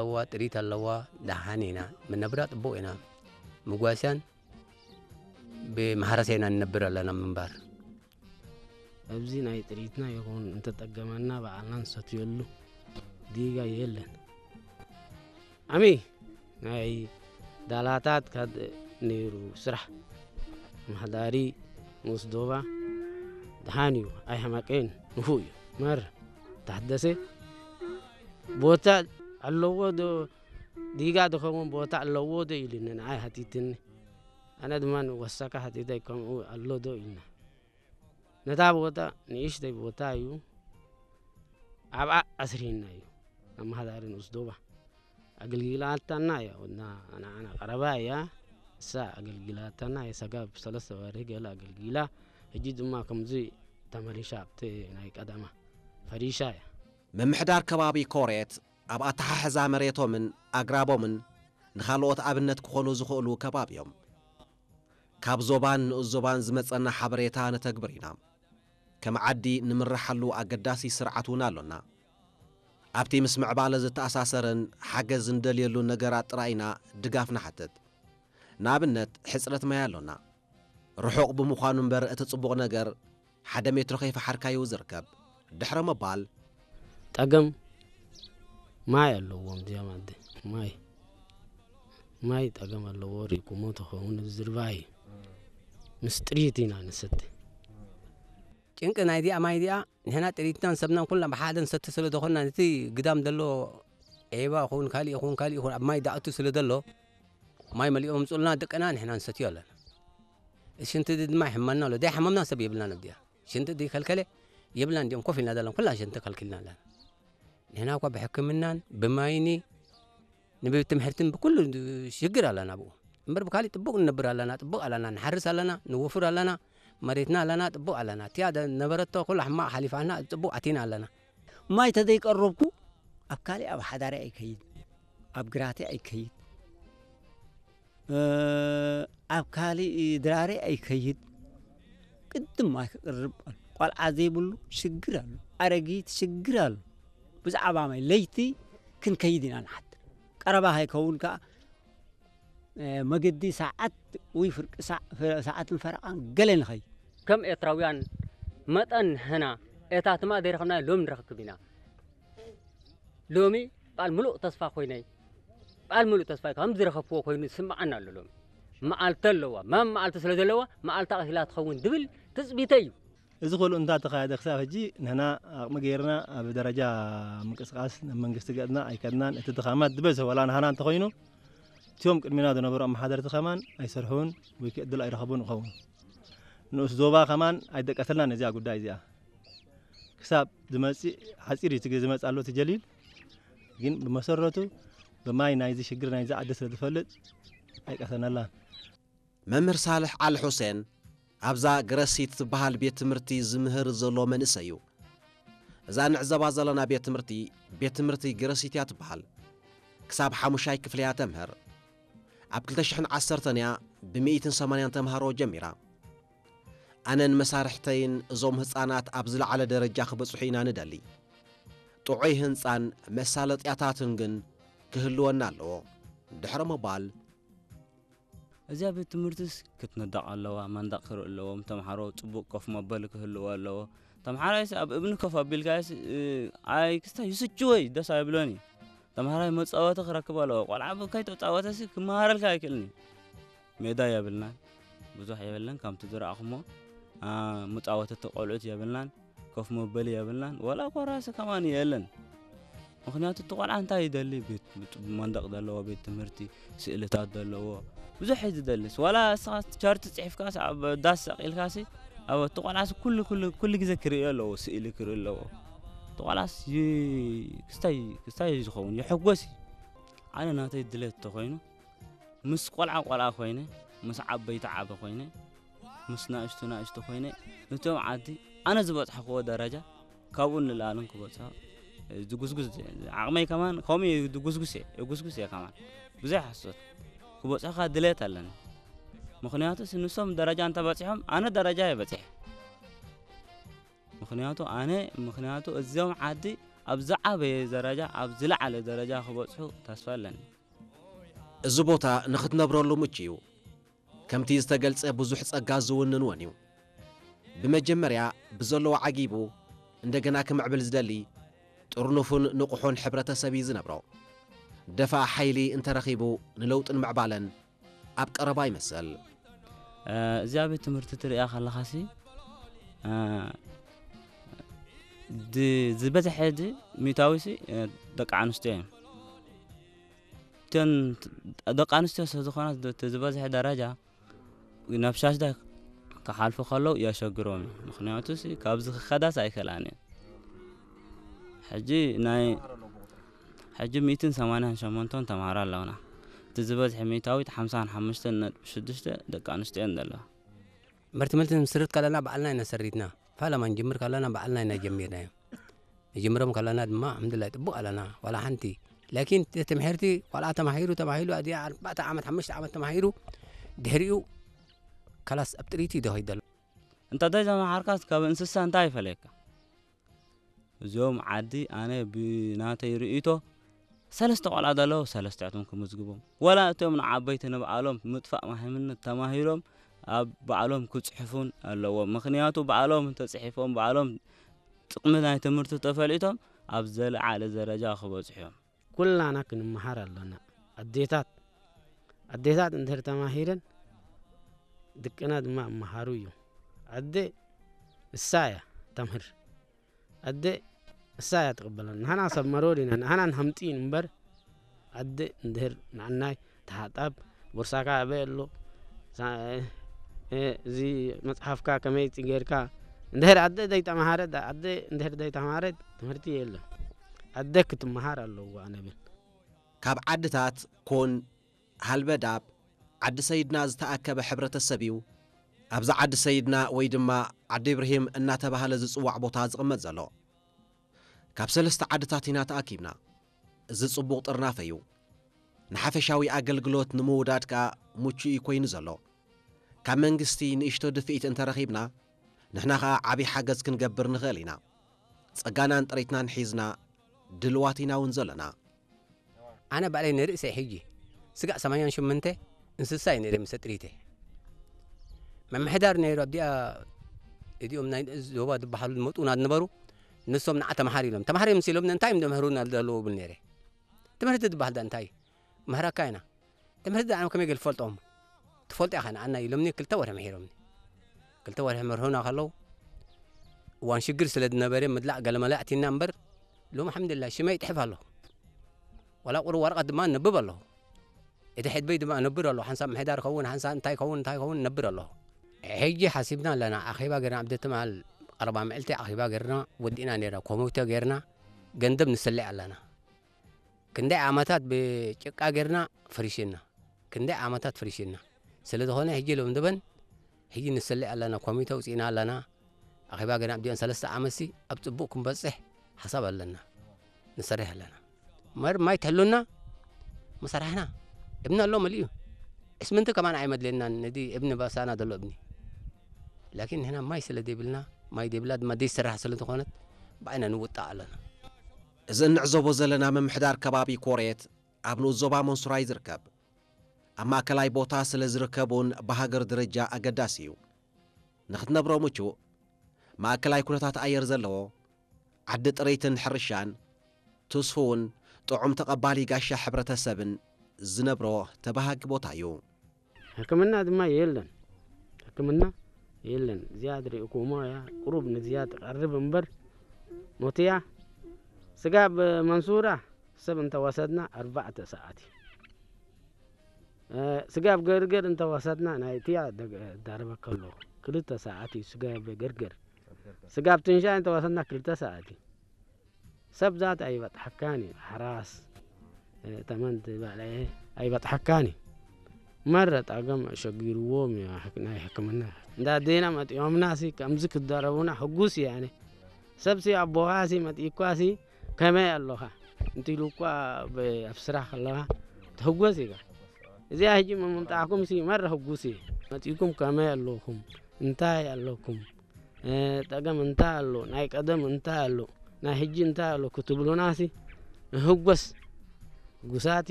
ኣለዋ፣ ጥሪት ኣለዋ፣ ደሓን ኢና። መነብራ ጥቡቕ ኢና። ምጓስያን ብማሕረስ ኢና ንነብር ኣለና ምንባር። ኣብዚ ናይ ጥሪትና ይኹን እንተጠገመና ባዕልና ንሰትየሉ ዲጋ የለን። ዓሚ ናይ ዳላታት ካድ ነይሩ ስራሕ። ማሕዳሪ ንኡስ ዶባ ደሓን እዩ፣ ኣይሓማቀን፣ ንፉዕ እዩ። መር ተሓደሰ ቦታ ኣለዎ ዶ? ዲጋ ዝኸውን ቦታ ኣለዎ ዶ ኢሉኒ ንዓይ ሓቲትኒ። ኣነ ድማ ንወሳካ ሓቲተይ ከምኡ ኣሎ ዶ ኢልና። ነታ ቦታ ንእሽተይ ቦታ እዩ፣ ኣብኣ ኣስሪህና እዩ። ኣመሓዳሪ ንኡስ ዶባ ኣገልጊላታና እያ፣ ወድና ንዓና ቀረባ እያ። እሳ ኣገልጊላታና እያ፣ ሰጋብ ሰለስተ ወርሒ ገለ ኣገልጊላ፣ ሕጂ ድማ ከምዚ ተመሊሻ ኣብቲ ናይ ቀደማ ፈሪሻ እያ። ምምሕዳር ከባቢ ኮሬት ኣብ ኣተሓሕዛ መሬቶምን ኣግራቦምን ንኻልኦት ኣብነት ክኾኑ ዝኽእሉ ከባቢ እዮም። ካብ ዞባን ንኡስ ዞባን ዝመጸና ሓበሬታ ነተግብር ኢና። ከም ዓዲ ንምረሓሉ ኣገዳሲ ስርዓት እውን ኣሎና። ኣብቲ ምስ ምዕባለ ዝተኣሳሰረን ሓገዝ እንደልየሉ ነገራት ጥራይ ኢና ድጋፍ ንሓትት። ንኣብነት ሕጽረት ማይ ኣሎና። ርሑቕ ብምዃኑ እምበር እቲ ጽቡቕ ነገር ሓደ ሜትሮ ከይፈሓርካዩ ዝርከብ። ድሕረ ምባል። ጠገም ማይ ኣለዎም እዚኦም ኣደ ማይ ማይ ጠገም ኣለዎ። ሪቁሞ ተኸውን ዝርባይ ምስ ጥሪት ኢና ንሰቲ። ጭንቂ ናይ ዲኣ ማይ ዲኣ ንሕና ጥሪትናን ሰብናን ኩልና ብሓደ ንሰቲ ስለ ዝኾንና ነቲ ግዳም ዘሎ ዒባ ይኹን ካሊእ ይኹን ካሊእ ይኹን ኣብ ማይ ዳእቱ ስለ ዘሎ ማይ መሊኦም ምጽኡልና ደቅና ንሕና ንሰትዮ ኣለና። ሽንቲ ድማ ይሕመና ኣሎ። ደይ ሓመምና ሰብ የብልናን ኣብዲኣ። ሽንቲ ደይ ከልከለ የብልናን። እንዲኦም ኮፍ ኢልና ዘለና ኩልና ሽንቲ ከልኪልና ኣለና። ንሕና እኳ ብሕክምናን ብማይኒ ንቤት ትምህርትን ብኩሉ ሽግር ኣለና ብኡ። እምበር ብካሊእ ጥቡቕ ንነብር ኣለና፣ ጥቡቕ ኣለና፣ ንሓርስ ኣለና፣ ንወፍር ኣለና፣ መሬትና ኣለና፣ ጥቡቕ ኣለና። እቲኣ ደ-፣ ነበረቶ ኩሉ ሕማቕ ሓሊፋና ጥቡቕ ኣቲና ኣለና። ማይ ተዘይቀረብኩ ኣብ ካሊእ ኣብ ሓዳሪ ኣይከይድ፣ ኣብ ግራቲ ኣይከይድ፣ እ፣ ኣብ ካሊእ ድራሪ ኣይከይድ። ቅድም ማይ ክቅርብ ኣሎ። ቆልዓ ዘይብሉ ሽግር ኣሎ። ኣረጊት ሽግር ኣሎ። ብዛዕባ ማይ ለይቲ ክንከይድ ኢና ንሓድር። ቀረባ ከይከውን ከኣ፣ እ፣ መገዲ ሰዓት ወይ ፍርቂ ሰዓ-፣ ሰዓትን ፈረቓን ገለ ንኸይድ። ከም ኤርትራውያን መጠን ንሕና እታ ትማል ዘይረኸብናዮ ሎሚ ንረክብ ኢና። ሎሚ በዓል ምሉእ ተስፋ ኮይነይ፣ በዓል ምሉእ ተስፋ ከም ዝረኸብክዎ ኮይኑ ዝስምዓና ኣሎ። ሎሚ መዓልቲ ኣለዋ፣ መም መዓልቲ ስለ ዘለዋ መዓልታ ቀሲላ ትኸውን ዝብል ትጽቢተይ እዩ። እዚ ኩሉ እንዳ ተኻየደ ክሳብ ሕጂ ንሕና ዓቕሚ ገይርና ኣብ ደረጃ ምንቅስቃስ ናብ መንግስቲ ገጽና ኣይከድናን። እቲ ድኻማት ዝበዝሑ ዋላ ንሃና እንተኾይኑ እቲኦም ቅድሚና ዝነበሩ ኣመሓደርቲ ከማን ኣይሰርሑን ወይ ከ ዕድል ኣይረኸቡን ይኸውን። ንኡስ ዞባ ከማን ኣይደቀሰልናን እዚኣ ጉዳይ እዚኣ። ክሳብ ዝመጽእ ሓጺር እዩ እቲ ዝመጽእ ኣሎ እቲ ጀሊል። ግን ብመሰረቱ ብማይ ናይዚ ሽግር ናይዚ ዓዲ ስለ ዝፈልጥ ኣይቀሰነላን። መምህር ሳልሕ ዓሊ ሑሴን ኣብዛ ገረሲት ትበሃል ቤት ትምህርቲ ዝምህር ዘሎ መንእሰይ እዩ። እዛ ንዕዘባ ዘለና ቤት ትምህርቲ፣ ቤት ትምህርቲ ገረሲት እያ ትበሃል። ክሳብ ሓሙሻይ ክፍሊ እያ ተምህር። ኣብ ክልተ ሽሕን ዓሰርተን እያ ብሚእትን ሰማንያን ተምሃሮ ጀሚራ። ኣነን መሳርሕተይን እዞም ህጻናት ኣብ ዝለዓለ ደረጃ ክበጽሑ ኢና ንደሊ። ጥዑይ ህንጻን መሳለጥያታትን ግን ክህልወና ኣለዎ። ድሕሪ ምባል። እዚኣ ቤት ትምህርትስ ክትነደቕ ኣለዋ፣ መንደቕ ክርኢ ኣለዎም፣ ተምሃሮ ጽቡቕ ኮፍ መበሊ ክህልዎ ኣለዎ። ተምሃራይስ ኣብ እብኒ ኮፍ ኣቢልካስ፣ እ፣ ኣይ ክስታይ ይስችወይ ደስ ኣይብሎን እዩ። ተምሃራይ መጻወቲ ክረክብ ኣለዎ። ቆልዓ ብ-፣ ከይተጻወተሲ ክመሃረልካ ኣይክእልን እዩ። ሜዳ የብልናን፣ ብዙሕ የብልን፣ ከምቲ ዝረኣኹሞ፣ ኣ፣ መጻወተቲ ቆልዑት የብልናን። ኮፍ መበሊ የብልናን፣ ዋላ ኮራሲ ከማን የለን። ምኽንያቱ እቲ ቆልዓ እንታይ ይደሊ? ቤት፣ ቤት መንደቕ ዘለዎ ቤት ትምህርቲ፣ ስእልታት ዘለዎ፣ ብዙሕ እዩ ዝደልስ። ዋላ እስኻ ቻርት ጽሒፍካስ ኣብ ዳስ ሰቒልካሲ፣ ኣብ እቲ ቆልዓሲ ኩሉ፣ ኩሉ፣ ኩሉ ግዜ ክርእዮ ኣለዎ፣ ስእሊ ክርኢ ኣለዎ። እቲ ቆልዓስ ይ-፣ ክስታይ፣ ክስታይ እዩ ዝኸውን፣ ይሕጎስ እዩ። ኣነ ናተይ ድሌት እንተኾይኑ፣ ምስ ቆልዓ ቆልዓ ኮይነ፣ ምስ ዓበይቲ ዓቢ ኮይነ፣ ምስ ናእሽቱ ናእሽቱ ኮይነ፣ ነቶም ዓዲ ኣነ ዝበጽሕክዎ ደረጃ ካብኡ ንላዕልን ክበጽሖ ዝጉስጉስ፣ ዓቕመይ ከማን ከምኡ እየ፣ ዝጉስጉስ እየ፣ እጉስጉስ እየ ከማን። ብዙሕ ሓሶት ክበጽሖ ከኣ ድሌት ኣለኒ። ምኽንያቱስ ንሶም ደረጃ እንተበጺሖም ኣነ ደረጃ እየ በጺሐ። ምኽንያቱ ኣነ፣ ምኽንያቱ እዞም ዓዲ ኣብ ዝዓበየ ደረጃ፣ ኣብ ዝለዓለ ደረጃ ክበጽሑ ተስፋ ኣለኒ። እዚ ቦታ ንኽትነብረሉ ምቹ እዩ። ከምቲ ዝተገልጸ ብዙሕ ጸጋ ዝውንን እውን እዩ። ብመጀመርያ ብዘለዎ ዓጊቡ እንደገና ክምዕብል ዝደሊ ጥርኑፍን ንቑሑን ሕብረተሰብ እዩ ዝነብሮ። ደፋእ ሓይሊ እንተረኺቡ ንለውጥን ምዕባለን ኣብ ቀረባ ይመስል። እዚኣ ቤት ትምህርቲ ትሪኣ ከለኻሲ እ፣ ድ- ዝበዝሐ ድ ሚእታዊ ሲ እ፣ ደቂ ኣንስትዮ እዮም። እተን ደቂ ኣንስትዮ ስለ ዝኾና እቲ ዝበዝሐ ደረጃ ናብ ሻሽዳ ክሓልፉ ከለዉ የሸግሮም እዩ። ምክንያቱ ሲ ካብዚ ክኸዳስ ኣይክእላን እየን። ሕጂ ናይ ሕጂ ሚእትን ሰማንያን ሸሞንተን ተምሃሮ ኣለውና። እቲ ዝበዝሐ ሚእታዊት ሓምሳን ሓሙሽተን ነጥቢ ሽዱሽተ ደቂ ኣንስትዮ እየን ዘለዋ። መርቲ መልቲ ንስርት ከለና ባዕልና ኢና ሰሪትና። ፋለማ ንጅምር ከለና ባዕልና ኢና ጀሚርናዮ። ንጅምሮም ከለና ድማ ኣልሓምዱሊላህ ጥቡቕ ኣለና። ዋላ ሓንቲ ላኪን እቲ ትምሕርቲ ቆልዓ ተማሂሩ ተማሂሩ ኣዲኣ ኣርባዕተ ዓመት ሓሙሽተ ዓመት ተማሂሩ ድሕሪኡ ካላስ ኣብ ጥሪት እዩ ደኺድ ዘሎ። እንተ ዘይተመሃርካስ ካብ እንስሳ እንታይ ይፈለየካ? እዚኦም ዓዲ ኣነ ብናተይ ርእይቶ ሰለስተ ቆልዓ ዘለዉ ሰለስቲኣቶም ክምዝግቦም፣ ወላ እቶም ንዓበይቲ ንባዕሎም ምጥፋእ ማህይምነት ተማሂሮም ኣብ ባዕሎም ክፅሕፉን ኣለዎም። ምኽንያቱ ባዕሎም እንተፅሒፎም ባዕሎም ጥቕሚ ናይ ትምህርቲ ተፈሊጦም ኣብ ዘለዓለ ደረጃ ክበፅሑ እዮም። ኩላና ክንመሃር ኣለና። ኣዴታት ኣዴታት እንድሕር ተማሂረን ድቅና ድማ እመሃሩ እዩ። ኣደ እሳ እያ ተምህር። ኣደ እሳ እያ ትቕበለና። ንሕና ሰብ መሮር ኢና፣ ንሕና ንሃምጢን እምበር ኣደ እንድህር ንዓናይ ተሓጣብ፣ ቦርሳካ ኣበይ ኣሎ፣ ሳ- እ- እዚ መጽሓፍካ ከመይ ጌርካ፣ እንድህር ኣደ ዘይተማሃረት፣ ኣደ እንድህር ዘይተማሃረት ትምህርቲ የለን። ኣደ ክትመሃር ኣለዋ ኣነ ብል። ካብ ዓድታት ኮን ሃልበዳብ ዓዲ ሰይድና ዝተኣከበ ሕብረተሰብ እዩ። ኣብዚ ዓዲ ሰይድና ወይ ድማ ዓዲ ኢብርሂም እናተባህለ ዝጽዋዕ ቦታ ዝቕመጥ ዘሎ። ካብ ሰለስተ ዓድታት ኢና ተኣኪብና። እዚ ጽቡቕ ጥርናፈ እዩ። ንሓፈሻዊ ኣገልግሎት ንምውዳድ ከኣ ምቹእ እዩ ኮይኑ ዘሎ። ካብ መንግስቲ ንእሽቶ ድፍኢት እንተረኺብና ንሕና ኸኣ ዓብዪ ሓገዝ ክንገብር ንኽእል ኢና። ጸጋናን ጥሪትናን ሒዝና ድልዋት ኢና እውን ዘለና። ኣነ ባዕለይ ንርእሰይ ሕጂ ስጋዕ ሰማንያን ሽምንተ እንስሳ እዩ ነይረ ምስ ጥሪተ ምምሕዳር ነይሩ ኣብዲኣ እዚኦም ናይ ዞባ ዝበሃሉ ዝመጡና ዝነበሩ ንሶም ንዓ ተምሃር ኢሎም ተምሃር እዮም ምስ ኢሎም እንታይ እዮም ዘምህሩና ዘለዉ ብል ነይረ ትምህርቲ ዝበሃል ዳ እንታይ እዩ? ምህረካ ኢና ትምህርቲ ዳዕም ከመይ ገል ትፈልጦም ትፈልጦ ኢኻ ንዓና ኢሎምኒ ክልተ ወርሒ ምሒሮምኒ ክልተ ወርሒ መርሁና ከለዉ እዋን ሽግር ስለ ዝነበረ ምድላዕ ገለመለ ኣቲና እምበር ሎም ሓምድላ ሽመይ ይጥሕፍ ኣለኹ ዋላ ቁሩ ወረቐት ድማ ነብብ ኣለኹ እቲ ሕድበይ ድማ ነብር ኣለኹ ሓንሳብ ምሕዳር ከውን ሓንሳ እንታይ ከውን እንታይ ከውን ነብር ኣለኹ ሕጂ ሓሲብና ኣለና ኣኼባ ገርና ኣብ ደትማል ቀረባ ምዕልቲ ኣኼባ ገርና ወዲእና ነርና ኮሚቴ ገርና ገንዘብ ንስልዕ ኣለና ክንደይ ዓመታት ብጭቃ ገርና ፈሪሽና ክንደይ ዓመታት ፈሪሽና ስለ ዝኾነ ሕጂ ሎም ድበን ሕጂ ንስልዕ ኣለና ኮሚቴ ውፅእና ኣለና ኣኼባ ገና ኣብዲኦን ሰለስተ ዓመትሲ ኣብ ፅቡቅ ክንበፅሕ ሓሳብ ኣለና ንሰርሕ ኣለና መር ማይ ትሕሉና መሰራሕና እብኒ ኣሎ መሊኡ እስምንቲ ከማን ኣይመድለናን ነዚ እብኒ ባሳና ዘሎ እብኒ ላኪን ንሕና ማይ ስለ ዘይብልና ማይ ዘይብላ ድማ ዘይሰራሕ ስለ ዝኾነት ብዓይና ንውጣእ ኣለና እዚ እንዕዘቦ ዘለና ምምሕዳር ከባቢ ኮሬት ኣብ ንኡስ ዞባ መንሱራይ ዝርከብ ኣብ ማእከላይ ቦታ ስለ ዝርከቡን ብሃገር ደረጃ ኣገዳሲ እዩ። ንኽትነብሮ ምቹእ ማእከላይ ኩነታት ኣየር ዘለዎ ዓዲ ጥረይትን ሕርሻን ትስፉውን ጥዑም ተቐባሊ ጋሻ ሕብረተሰብን ዝነብሮ ተባሃጊ ቦታ እዩ። ሕክምና ድማ የለን። ሕክምና የለን። እዚኣ ትሪእኩሞ እያ። ቁሩብ ንዚያ ትቐርብ እምበር ሞትያ ስጋብ መንሱራ ሰብ እንተወሰድና ኣርባዕተ ሰዓት እዩ። ስጋብ ገርገር እንተወሰድና ናይ እቲያ ዳረበ ከሎ ክልተ ሰዓት እዩ። ስጋብ ገርገር ስጋብ ትንሻይ እንተወሰድና ክልተ ሰዓት እዩ። ሰብ ዛት ኣይበጥሐካን እዩ። ሓራስ ተመን ዝበለ ኣይበጥሐካን እዩ። መረ ጣገም ሸጊርዎም እዩ ናይ ሕክምና እንዳ ዴና መጢኦምና ሲ ከምዚ ክደረቡና ሕጉስ እየ ኣነ። ሰብ ሲ ኣቦኻ ሲ መጢእኳ ሲ ከመይ ኣለኻ እንቲሉ እኳ ኣብ ስራሕ ከለኻ ትሕጎስ ኢኻ። እዚኣ ሕጂ ምምጣዕኩም ሲ መረ ሕጉስ እየ። መጢእኩም ከመይ ኣለኹም እንታይ ኣለኩም ጠገም እንታይ ኣሎ ናይ ቀደም እንታይ ኣሎ ናይ ሕጂ እንታይ ኣሎ ክትብሉናሲ ንህጎስ፣ ህጉሳት